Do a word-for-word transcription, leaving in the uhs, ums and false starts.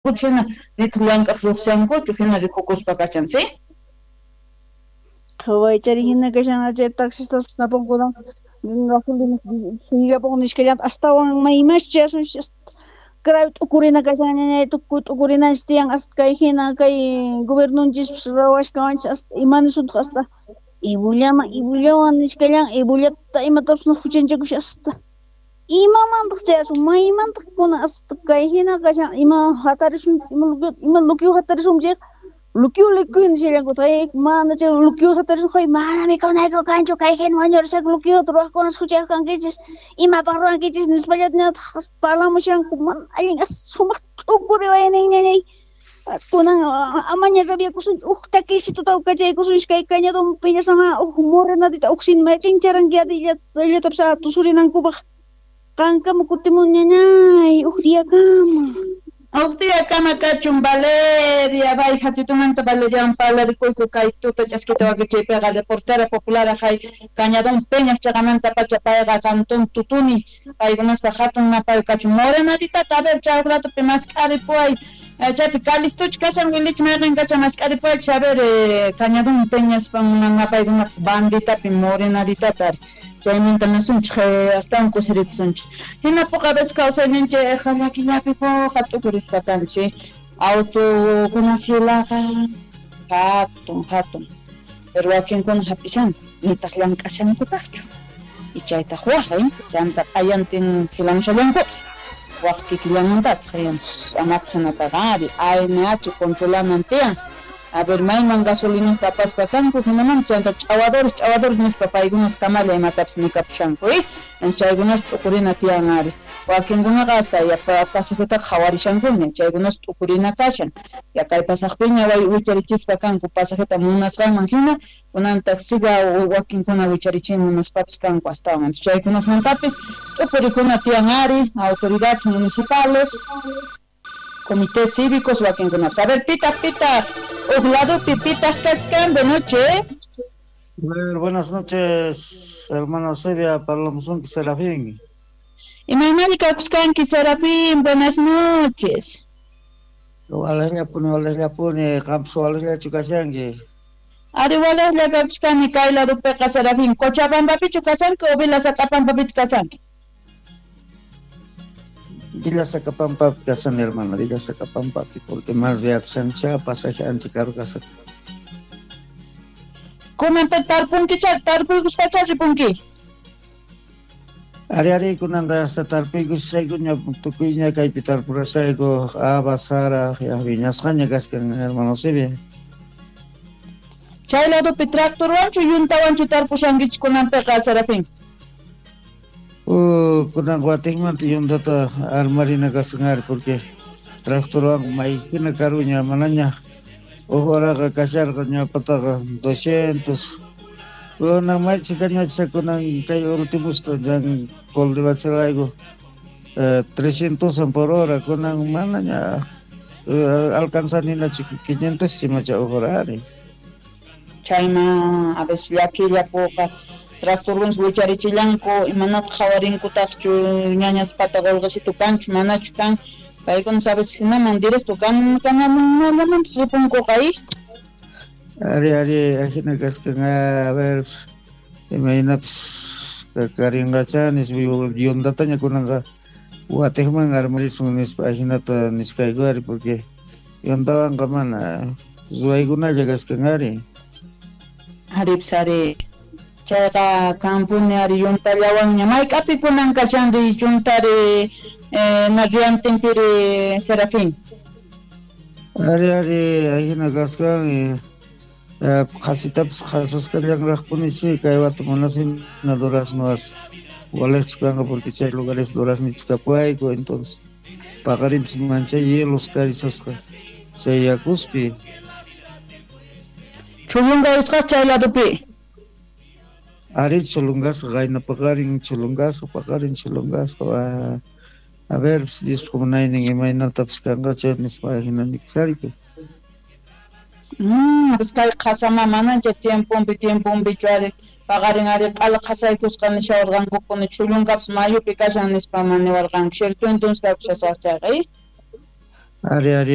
Hina nitaq llank'aq lluqsiankuchu hina rikukuspa kashan, ¿sí? Qhawaychari hina kashan chay taxistas napunkunan gasolina suyapun nishkallanta astawan maymash chayasun grave t'ukurina kashan ñañay tukuy t'ukurinanchis tiyan hasta kay hina kay gobiernonchis ruwashkawanchis hasta imanisuntaq hasta ibullaman ibullawan nishkallan ibullata imatapis huchanchakush hasta imamantaq chayasun maymantaq kunan hasta kay hina kashan ima hatarisun ima ima lukiw hatarisun chayqa lukiw lukiw nishallankutaq mana chay lukiw hatarisun hay mana mikhunayku kanchu kay hina wañurishaq lukiwta ruwaqkunas huchayuq kankichis imapaq ruwankichis nispallatñataq parlamushanku mana allin sumaq t'ukuriwaynin ñañay kunan amaña rabiakusunchu uj takisituta kachaykusunchis kay Cañadón Peñasama uj morenadita uj sin mayqincharanki allatapis tusurinankupaq qankama kutimun ñañay uj diyakama. Uj diyakama kachun Valeria, bay hatitumanta Valerian parlarikuyku kay tuta ch'askita wakichiypiqa reportera popular hay Cañadón Peñas chaqamanta pacha payqa cantón Tutuni paykunaspa hatun napay kachun morenaditata a ver chay ratopi mask'aripuway chaypi Calistuch kashan wilich mayqin kashan mask'aripuway a ver Cañadón Peñaspa napaykunapaq banditapi morenaditata chaymanta nasunchik astawan kusirikusunchik hinapuqa a veces kawsayninchik llakillapi puqa t'ukurispa kanchik autokuna filaqa hatun hatun pero wakinkuna hap'ishanku nitaq llank'ashankutaqchu y chaytaq waq chanta q'ayantin filamushallankutaq waq kikillanmantataq amataq hinataqa ari A N H controlanan tiyan a ver mayman gasolinasta apaspa kanku hinamanta chanta ch'awadores ch'awadores nispa paykunas kamalla imatapis nikapushanku eh chaykunas t'ukurina tiyan ari wakinkunaqa hasta pasajetaqa qhawarishankuña chaykunas t'ukurina kashan ya kay pasaqpiña wicharichispa kanku pasajeta munasqanman hina kunantaq siga wakinkuna wicharichiy munaspapis kanku astawan chaykunasmantapis t'ukurikuna tiyan ari autoridades municipales comités cívicos wakinkunapas. A ver, pitaq, pitaq, uj ladopi pitaq kachkan, buenas noches. Buenas noches, hermano Sevia, parlamusunki Serafín. Imaynari kakuskanki Serafín, buenas noches. Walejllapuni, walejllapuni, qampas walejllachu kashanki. Ari walejlla kakuskani kay ladopiqa Serafín, Cochabambapichu kashanki o Villa Sacapambapichu kashanki? Villa Sacapampapi kasani, hermano, Villa Sacapampapi, porque más de Atsancha, pasaje ancha karu kasani. Kunanpi tarpunkicha, tarpuykuspacha ripunki? Ari ari kunanta hasta tarpuykushaykuña, tukuyña kaypi tarpurashayku, habas, sara, ya viñasqaña kaskan, hermano Silvia. Chay ladopi tractorwanchu yuntawanchu tarpushankichik kunanpiqa, Serafín? Uh, kunan watikmanta yuntata armarina kaskan ari, porque tractorwan maykina karuña manaña uj horaqa kasharqa ñawpataqa doscientos kunan maychikañacha kunan kay ultimosta yan cultivacharayku eh, trescientos por hora kunan manaña uh, alcanzaninachu quinientos imacha uj hora ari. Chayma a veces llakilla puqa tractorwan wicharichillanku imanataq qhawarinkutaqchu ñañaspata qolqesitu kanchu manachu kan paykuna sabes hinaman directo kan kanallamanta ripunkuqa y ari ari ajina kaskan a ver imaynapis karinqacha nispa yuntataña kunanqa watiqman armarisun nispa ajinata niskayku ari porque yuntawanqa mana ruwaykunalla kaskan ari. Aripis ari chayqa kampuni ari yuntallawanña mayk'api kunan kashanri yuntari eh, narriantinpiri Serafín. Ari ari ajina kaskan qhasitapas qhasusqallanraqpuni si kay wata munasina duraznoas walejchu kanqa porque chay lugares duraznichu kapuwayku entonces paqarinpis manchay hielos karisasqa chay yakuspi. Chulunga usqas chay ladopi. Ari chulungasqa qayna paqarin chulungasqa paqarin chulungasqa a ver Diospa munaynin imaynatapis kanqa chay nispa ajina nikushariyku. Mm, pues kay qhasama manancha tiemponpi tiemponpichu ari paqarin ari q'ala qhasaykusqa nishawarqankupuni chulunkapas mayupi kashan nispa maniwarqanku cierto entonces kakushasaq chayqa. Ari, ari.